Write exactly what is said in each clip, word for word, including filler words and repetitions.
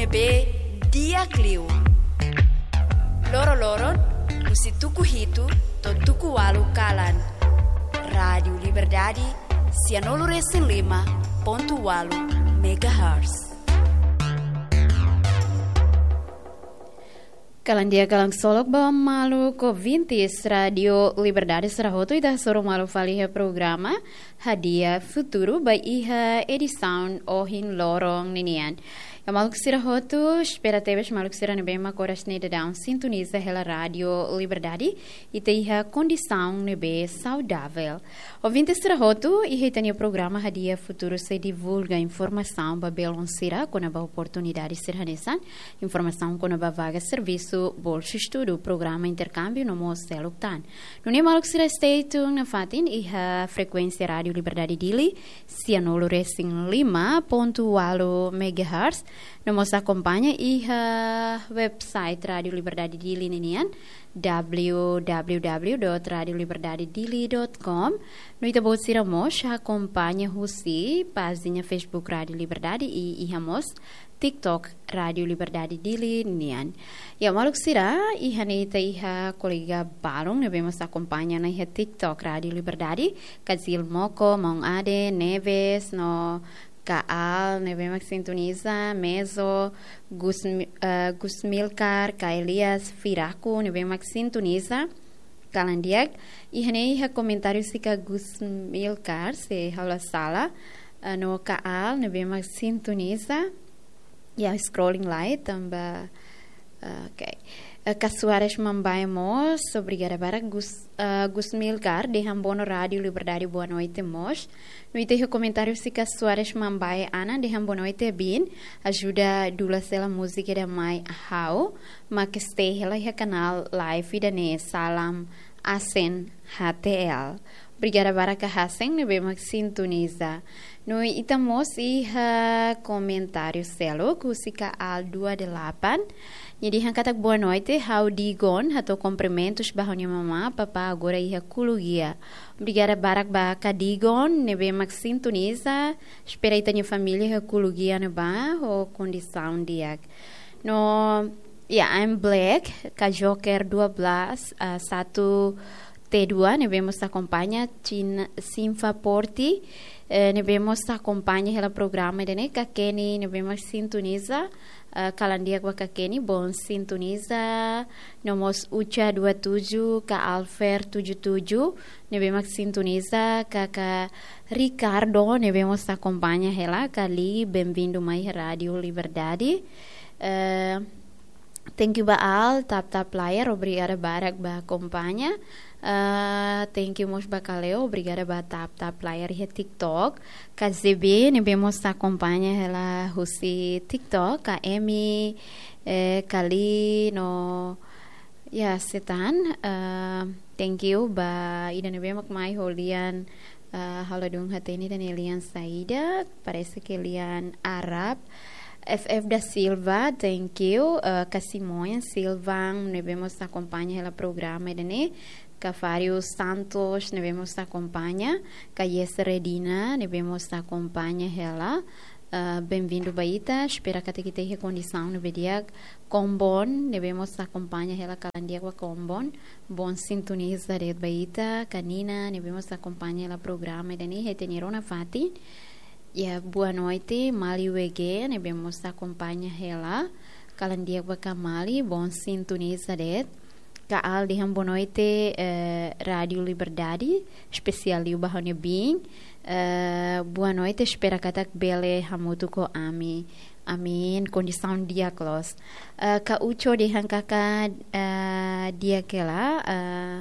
Be di'ak liu. Loro-loron, husi tuku hitu to'o tuku ualu kalan. Rádiu Liberdade, sianulu resin lima pontu ualu megahertz. Kalan di'ak, kalan solok ba maluk ouvintes Rádiu Liberdade sira hotu, ita hasoru malu fali iha programa Hadi'a Futuru ba iha edisaun ohin loron ninian. Ya, maluk sira hotu, espera tebes maluk sira ne'ebé mak oras ne'e daudaun sintoniza hela Rádiu Liberdade, ita iha kondisaun ne'ebé saudavel. Ouvintes sira hotu, iha ita-nia programa Hadi'a Futuru sei divulga informasaun ba belun sira kona-ba oportunidade sira hanesan, informasaun kona-ba vaga servisu, bolsa estudu, programa interkámbiu no mós seluk tan. Nune'e maluk sira stay tune nafatin iha frekuénsia Rádiu Liberdade Dili, sianulu resin lima pontu ualu megahertz, no mós akompaña iha website Rádiu Liberdade Dili ninian, w w w dot radio liberdade dili dot com. No ita-boot sira mós akompaña husi pájina Facebook Rádiu Liberdade i iha mós TikTok Rádiu Liberdade Dili nian. Ya, maluk sira, iha ne'e ita iha kolega balun ne'ebé mós akompaña ona iha TikTok Rádiu Liberdade, Kazil Moko, Maun Ade, Neves, no Kaal, ne'ebé mak sintoniza, Mezo, Gus, eh, Gus Milkar, ka Elias Firaku, ne'ebé mak sintoniza, kalan di'ak. Iha ne'e iha komentáriu husi ka Gus Milkar, se ha'u la sala, eh, no Kaal, ne'ebé mak sintoniza. Ya, scrolling lai, tanba, eh, ok. Eh, ka Soares Mambae mós, obrigada barak Gus, eh, Gus Milkar, dehan boa no Rádiu Liberdade, boa noite mós. No ita iha komentáriu husi ka Soares Mambae Ana, dehan boa noite, Bin. Ajuda dula sela múzika ida mai ha'u, mak stay hela iha kanál live ida-ne'e, Salam Asen H T L. Obrigada barak ka Hasen, ne'ebé mak sintoniza. No ita mós iha komentáriu seluk, husi ka Al dua delapan. Nia dehan katak boa noite, ha'u Digon, hato'o kumprimentus ba ha'u-nia mamá, papá agora iha Kulugia. Obrigada barak ba ka Digon, ne'ebé mak sintoniza, espera ita-nia família iha Kulugia ne'ebá ho kondisaun di'ak. No, ya, I'm Black, ka Joker dua belas, ah, satu T dua, ne'ebé mós akompaña, Chin, Sinfa Porti, eh, ne'ebé mós akompaña hela programa ida-ne'e, ka Kenny, ne'ebé mak sintoniza, eh, kalan di'ak ba ka Kenny, bom sintoniza, no mós Ucha dua tujuh, ka Alfer tujuh tujuh, ne'ebé mak sintoniza, ka, ka Ricardo, ne'ebé mós akompaña hela, ka Li, bem-vindo mai Rádiu Liberdade. Eh, thank you ba Al, tap tap layar, obrigada barak ba akompaña. Eh, thank you mós ba Kaleo, obrigada ba tap tap layar iha TikTok. Ka Z B, ne'ebé mós akompaña hela husi TikTok, ka Emi, eh, Kali, no, ya, Setan, eh, thank you ba ida ne'ebé mak mai ho lian, eh, ha'u ladún hatene ida-ne'e lian saida, parese ke lian Arab. F F da Silva, thank you. Eh, ka Simões Silva, ne'ebé mós akompaña hela programa ida-ne'e. Ka Fário Santos, ne'ebé mós akompaña. Ka Yes Redina, ne'ebé mós akompaña hela. Eh, bem-vindo ba ita, espera katak ita iha kondisaun ne'ebé di'ak. Kombon, ne'ebé mós akompaña hela, kalan di'ak ba Kombon. Bom sintoniza de'it ba ita, ka Nina, ne'ebé mós akompaña hela programa ida-ne'e, hatene rona fatin. Ya, boa noite, Mali W G, ne'ebé mós akompaña hela, kalan di'ak ba ka Mali, bom sintoniza de'it. Ka Al dehan boa noite, eh, Rádiu Liberdade, espesiál liu ba ha'u-nia biin. Eh, boa noite, espera katak bele hamutuk ho ami. Amin, kondisaun di'ak loos. Eh, ka Ucho dehan katak, eh, di'ak hela, eh,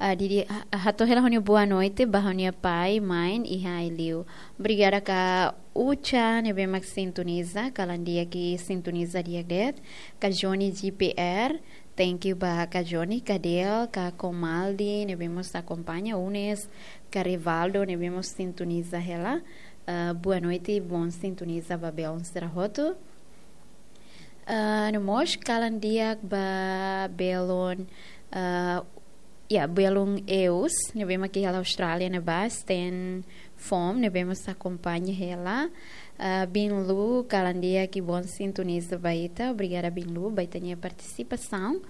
eh, di, di, ha-, hato'o hela ha'u-nia boa noite ba ha'u-nia pai, mãe, iha ai-liu. Obrigada ka Ucha, ne'ebé mak sintoniza, kalan di'ak i sintoniza di'ak de'it. Ka Johnny G P R, thank you ba ka Johnny, ka Del, ka Komaldi, ne'ebé mós akompaña, Unes, ka Rivaldo, ne'ebé mós sintoniza hela. Eh, boa noite, bom sintoniza ba belun sira hotu. Eh, no mós kalan di'ak ba belun, eh, ya, belun Eus, ne'ebé mak iha Austrália ne'ebá, Stan Fom, ne'ebé mós akompaña hela. Ah, Binlu, kalan di'ak, kibon sintoniza ba ita. Obrigada, Binlu, ba ita-nia partisipasaun.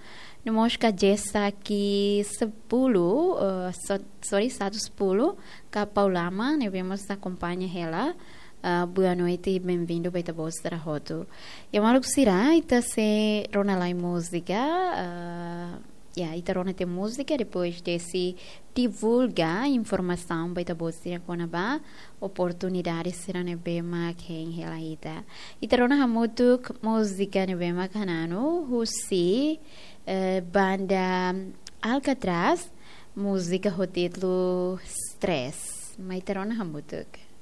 No mós ka Jessa ki sepuluh, ah, so-, sorry, satu sepuluh, ka Paulama, ne'ebé mós akompaña hela. Ah, boa noite, bem-vindo ba ita-boot sira hotu. Ya, maluk sira, ita sei rona lai múzika, ah, ya, ita rona tiha múzika, depois sei divulga informasaun ba ita-boot sira kona-ba oportunidade sira ne'ebé mak hein hela ita. Ita rona hamutuk múzika ne'ebé mak hananu husi, eh, banda Alcatraz, múzika ho títulu Stress. Mai ita rona hamutuk.